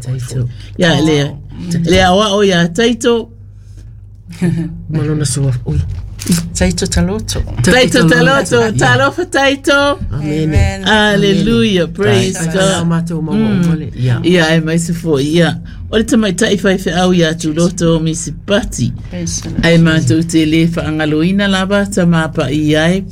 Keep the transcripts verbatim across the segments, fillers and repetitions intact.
Taito. Ia le le aoao ia Taito. Ma lona sua. Ui. Taito Taloto. Taito Taloto, talofa Taito. Amene. Hallelujah, praise Ai tala God. matou maua uma le. Ia. Ia aemaise foi ia o le tamaitai faifeau ia Tuloto Misipati. Praise the Lord. Ae matou te le faagaloina lava tamapa'i ai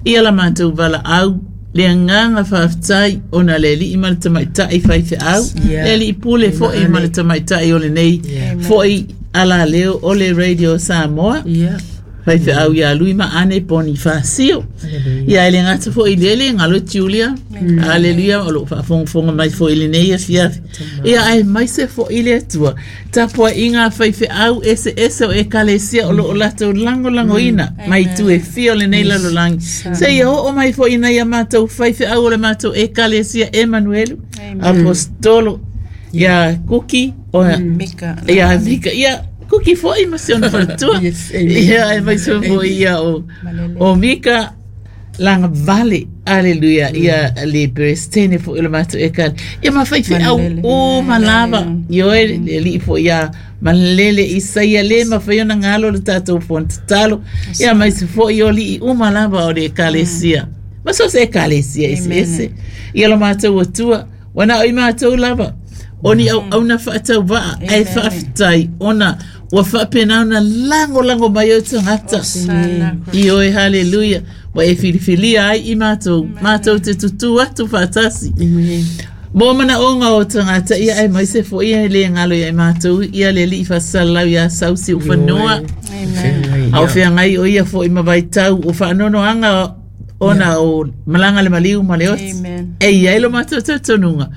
ia la matou valaau le agaga faafetai ona le alii ma le tamaitai faifeau, Yeah. le alii pule foi ma le tamaitai o lenei Yeah. foi alaleo o le Radio Samoa, Ia. faifeau ia Lui ma Ane Ponifasio. Hallelujah. Ia e le gata foi i lea le galo Julia. Aleluia, o loo faafogafoga mai foi i lenei afiafi. Ia aemaise foi le Atua. Tapuaiga faifeau eseese o ekalesia o loo latou lagolagoina mai itu e fia o lenei lalolagi. Seia oo mai foi ina ia matou faifeau o le matou ekalesia Emanuelu, Apostolo, ia Kuki, o Mika. ia Mika, ia Kuki foi ma si ona faletua. Yes, amen. Ia aemaise foi ia o, o Mika Lagavale, aleluia, ia le peresetene foi o le matou ekale. Ia ma faifeau Malele. uma lava. Ioe le alii foi ia Malele Isaia le mafai ona galo le tatou fono tatalo. Ia aemaise foi o alii uma lava o le ekalesia. Ma so o se ekalesia eseese. Ia lo matou Atua, ua na o i matou lava o ni auauna faatauvaa ae faafetai ona ua faapena ona lagolago mai o tagata. Sana. Ioe, haleluia. Ua e filifilia ai i matou, matou te tutū atu faatasi Amen. mo manaoga o tagata. Ia aemaise foi e le galo ia i matou ia le alii faasalalau ia Sausi Ufanua. Amen. A o feagai o ia foi ma vaitau o faanoanoaga ona o malaga le maliu ma le oti. Amen. E i ai lo matou talitonuga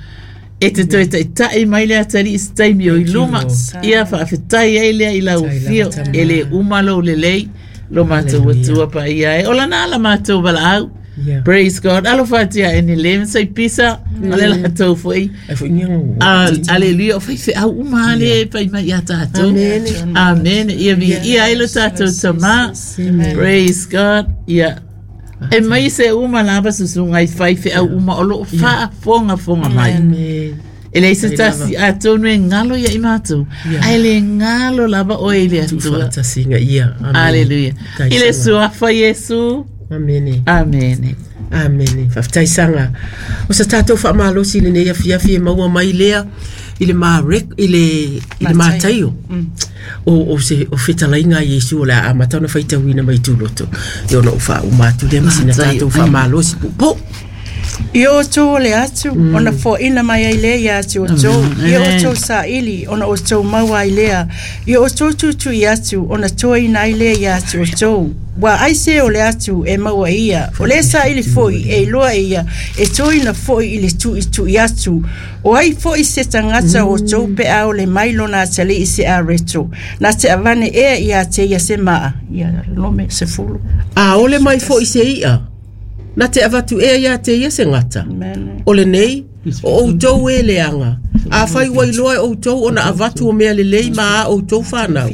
e te toe taitai mai le atalii i se taimi o i luma. Ia faafetai ai lea i lau afio e le uma lou lelei lo matou Atua paia e o lana ala matou valaau. Yeah. Praise God. Alofa atu ia ene le sai pisa ma le latou foi. Ai foi ni ngo. Ah, aleluia, o faifeau uma le fai mai ia tatou. Amen. Amen. Ia viia ai lo tatou Tamā. Praise God. Ia. Aemaise uma lava susuga i faifeau uma o loo faafogafoga mai. Amen. E leai se tasi atonu e galo ia i matou. Ae le galo lava oe i le Atua. Tuufaatasiga ia. Amen. Aleluia. Tai I le sanga. suafa Iesu. Amene. Amene. Amene. Faafetai saga. O sa tatou faamalosi i lenei afiafi e maua mai lea i le Mareko i le i le Mataio. O o se o fetalaiga a Iesu o le a amata ona faitauina mai Tuloto. Ia ona ou faauma atu lea ma sina Mataio. tatou faamalosi puupuu. I outou ole atu, ona foaina mai ai lea ia te outou. I outou saili, ona outou maua ai lea. I outou tuitui atu, ona toaina ai lea ia te outou. Ua aisea ole atu e maua ia. O le saili foi e iloa e ia, e toaina foi i le tuitui atu. O ai foi se tagata o outou pe a ole mai lona atalii se areto. Na te avane ea ia te ia se maa. Ia nome sefulu. A ole mai foi se i'a. Na te avatu ea ia te ia se gata. Amen. O lenei, o outou e leaga. Afai ua iloa e outou ona avatu o mea lelei ma a outou fanau.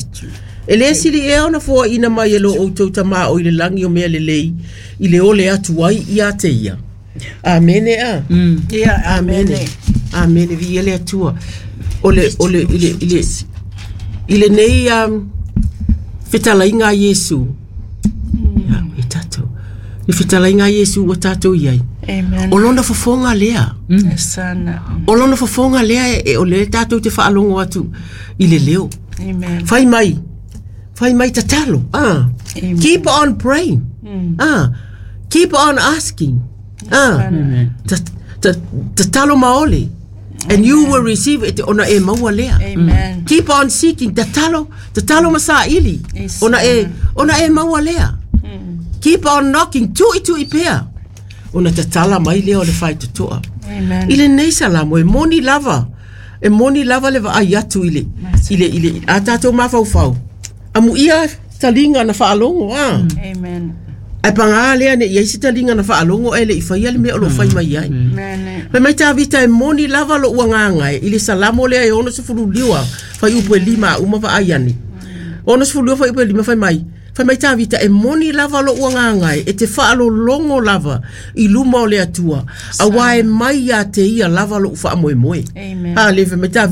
E le sili ea ona foaina mai e lo outou Tamā o i le lagi o mea lelei i le ole atu ai ia te ia. Amene a. Ia, Amene. Amene. Viia le Atua. O le, o le, i le, i le, i lenei um, fetalaiga a Iesu. Ia, e tatou. Le fetalaiga a Iesu ua tatou i ai. Amen. O lona fofoga lea. Sana. O lona fofoga lea e, e o le tatou te faalogo atu i le leo. Amen. Fai mai. Fai mai tatalo. Ah. Amen. Keep on praying. Ah. Keep on asking. Ah. Ta- ta- Tatalo maoli. And you will receive it ona e maua lea. Amen. Keep on seeking. Tatalo, tatalo ma saili. Yes. Ona e, ona e maua lea. Keep on knocking. Tuitui pea. Ona tatala mai lea o le faitotoa. Amen. I lenei salamo e moni lava. E moni lava le vaai atu i le, i le, i le, a tatou mafaufau. Amuia taliga na faalogo a. Amen. Ae pagā lea ne i ai se taliga na faalogo ae le i faia le mea o loo fai mai ai. Amen. Fai mai Tavita e moni lava lou agaga e i le salamo lea e ono sefulu liua fuaiupu e lima a uma vaai ane. Ono sefulu liua fuaiupu e lima fai mai. Fai mai Tavita e moni lava lou agaga e e te faalologo lava i luma o le Atua. Auā e mai ia te ia lava lou faamoemoe. Amen. A le fai mai Tavita.